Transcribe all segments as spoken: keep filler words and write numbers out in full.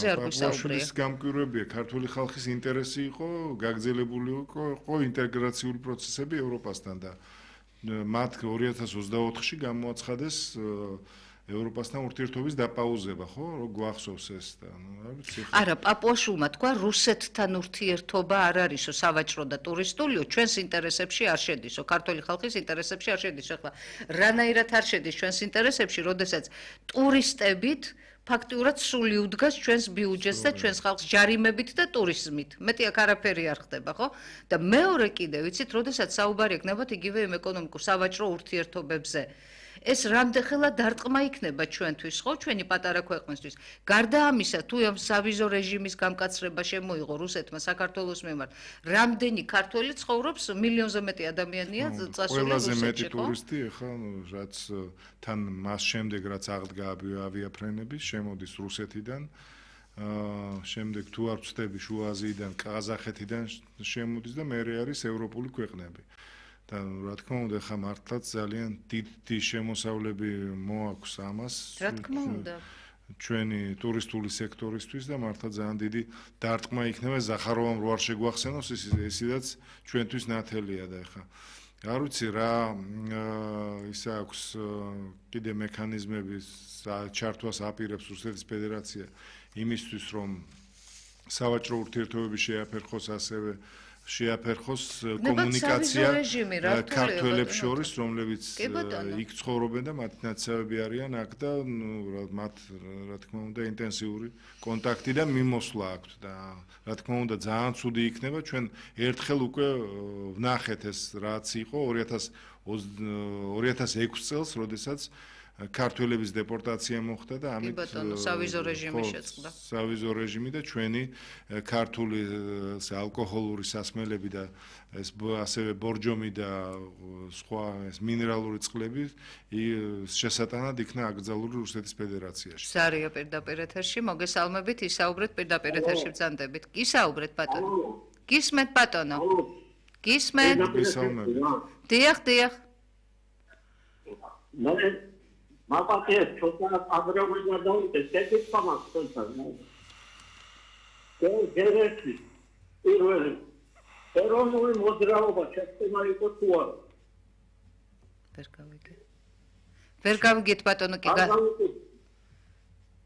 ამაზე არ გვისაუბრია. პაპუაშვილის გამკვირვებია ქართული ხალხის ინტერესი იყო, გაგრძელებული იყო ინტეგრაციული პროცესები ევროპასთან და მათ ორი ათას ოცდაოთხში გამოაცხადეს ევროპასთან ურთიერთობის დაპაუზება, ხო? რო გვახსოვს ეს და ნუ რა ვიცი. არა, პაპუაშვილმა თქვა რუსეთთან ურთიერთობა არ არისო სავაჭრო და ტურისტულიო, ჩვენს ინტერესებში არ შედისო, ქართული ხალხის ინტერესებში არ შედისო. ახლა რანაირად არ შედის ჩვენს ინტერესებში, როდესაც ტურისტებით ფაქტიურად სული უდგას ჩვენს ბიუჯეტს და ჩვენს ხალხს ჯარიმებით და ტურიზმით. მეტი აქ არაფერი არ ხდება, ხო? და მეორე კიდე ვიცით, როდესაც საუბარი ექნებათ იგივე იმ ეკონომიკურ სავაჭრო ურთიერთობებზე. ეს რამდენხელა დარტყმა იქნება ჩვენთვის, ხო, ჩვენი პატარა ქვეყნისთვის. გარდა ამისა, თუ ამ სავიზო რეჟიმის გამკაცრება შემოიღო რუსეთმა საქართველოს მიმართ, რამდენი ქართველი ცხოვრობს, მილიონზე მეტი ადამიანია წასული რუსეთში, ხო? ყველაზე მეტი ტურისტი, ახლა რაც თან მას შემდეგ რაც აღდგა ავიაფრენები, შემოდის რუსეთიდან, აა შემდეგ თუ არ ვწდები შუა აზიიდან, ყაზახეთიდან შემოდის და მეორე არის ევროპული ქვეყნები. და რა თქმა უნდა, ხა მართლაც ძალიან დიდი შემოსავლები მოაქვს ამას. რა თქმა უნდა. ჩვენი ტურისტული სექტორისთვის და მართლა ძალიან დიდი დარტყმა იქნება ზახაროვამ რო არ შეგვახსენოს ის ისედაც ჩვენთვის ნათელია და ხა არ ვიცი რა ის აქვს კიდე მექანიზმები ჩართვას აპირებს რუსეთის ფედერაცია იმისთვის რომ სავაჭრო ურთიერთობები შეაფერხოს ასევე შეაფერხოს კომუნიკაცია ქართველებს შორის, რომლებიც იქ ცხოვრობენ და მათი ნაცავები არიან აქ და ნუ მათ რა თქმა უნდა ინტენსიური კონტაქტი და მიმოსვლა აქვთ და რა თქმა უნდა ძალიან ცუდი იქნება ჩვენ ერთხელ უკვე ვნახეთ ეს რაც იყო ორი ათას ექვსი წელს, როდესაც ქართველების დეპორტაცია მოხდა და ამით სავიზო რეჟიმი შეწყდა. სავიზო რეჟიმი და ჩვენი ქართული ალკოჰოლური სასმელები და ეს ასევე ბორჯომი და სხვა ეს მინერალური წყლები შესატანად იქნა აკრძალული რუსეთის ფედერაციაში. სარია პირდაპირ ეთერში, მოგესალმებით, ისაუბრეთ პირდაპირ ეთერში ბრძანდებით. ისაუბრეთ ბატონო. გისმენთ ბატონო. გისმენთ. მოგესალმებით. დიახ, დიახ. მაპატიეს ცოტა აგროვიდა და ეს თამას თორსა. გერეთი პირველი ეროვნული მოძრაობა შეცდომა იყო თუ არა? ვერ გავიგე. ვერ გავიგეთ ბატონო კი გა.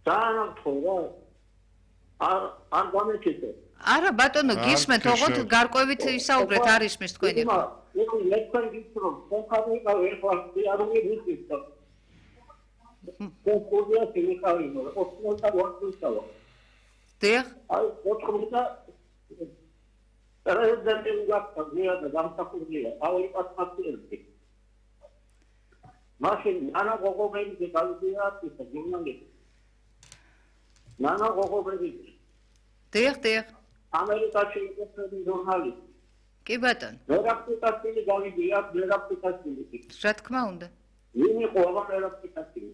ძალიან თორა. არ არ გამეკეთე. არა ბატონო გისმენთ, ოღონდ გარკვევით ისაუბრეთ არ ისმის თქვენი. იყო ლექციი გიწრო, ხოხავიკა ვერ ხარ არ მიგიწევ. კონკურსია შეიძლება ოსმალთა ვარცხავა. დიახ. აი, ოთხმოცდა პრეზიდენტი უგაფია და დამსახურდია. აი, პასპორტი. მაშინ ანა გოგობელი გავიდია ის გერმანიაში. ნანა გოგობელი. დიახ, დიახ. ამერიკაში იყო ჟურნალისტი. კი ბატონო. მერაპტიკასილი გავიდია, მერაპტიკასილი. რა თქმა უნდა. ვინ იყო ამ მერაპტიკასილი?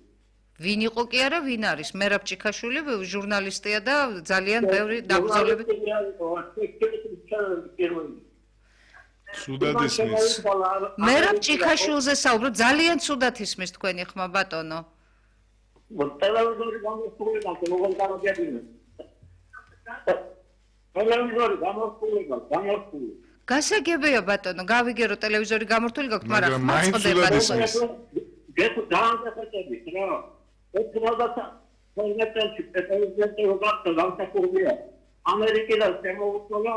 ვინ იყო კი არა, ვინ არის? მერაბჭიქაშვილი ჟურნალისტია და ძალიან ბევრი დაბრძოლებით. ცუდად ისმის. მერაბჭიქაშვილზე საუბრობ, ძალიან ცუდად ისმის თქვენი ხმა ბატონო. ტელევიზორი გამოსულება როგორ გამოგიადგინე? ტელევიზორი გამოსულება, გამოსული. გასაგებია ბატონო, გავიგე რომ ტელევიზორი გამორთული გაქვთ, მაგრამ მაწყდება ისმის. გეტ დაანახები, რა. ეთნოგათა პრეზიდენტი პრეზიდენტი უგახდა დამსახურდია. ამერიკიდან შემოუწოლა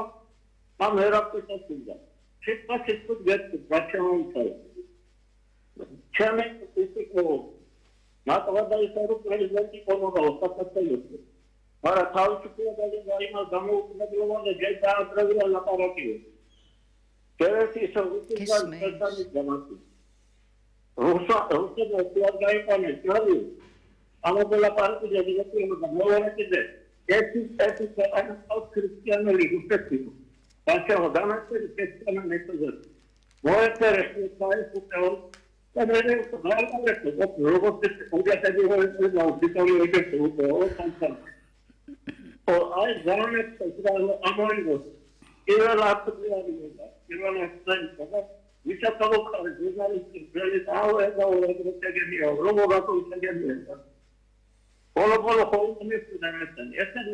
ამ ერაპტიკასია. შეფასეთ გეტ ბაჩაუნთა. ჩემი ისიკო მათვადა ისარო პრეზიდენტი კომოდა ოსტატელოსი. არა თავისუფლება და იმას გამოუწოდებია და ჯეთა ტრევია ლაპარაკიო. კერეთი სოციალურ პერსონაჟი გამოსი. რუსა რუსა დაიყვანე ჯარი. ამოღლა პარტი დედიკატიო და მოერეთზე. ერთი ერთი ქვეყანა ქრისტიანული რუსეთი. ბაშაო დამასტერი ქრისტიანული მეთოდი. მოერეთზე საერთო და მე ვიყავ როგორც უგათები ვიყავ და ვიტორი ვიყავ და ო აი ზარმეთ ამოიღო. ერალატია ვიდა. ერალატია და ვიჩათავ ხარ ჟურნალისტი ბელი აუ ეს აუ ეს ეგენია რომ მოგატო ისეგენია. Όλο όλο ხოლმე მისდენ ესენ. ესენ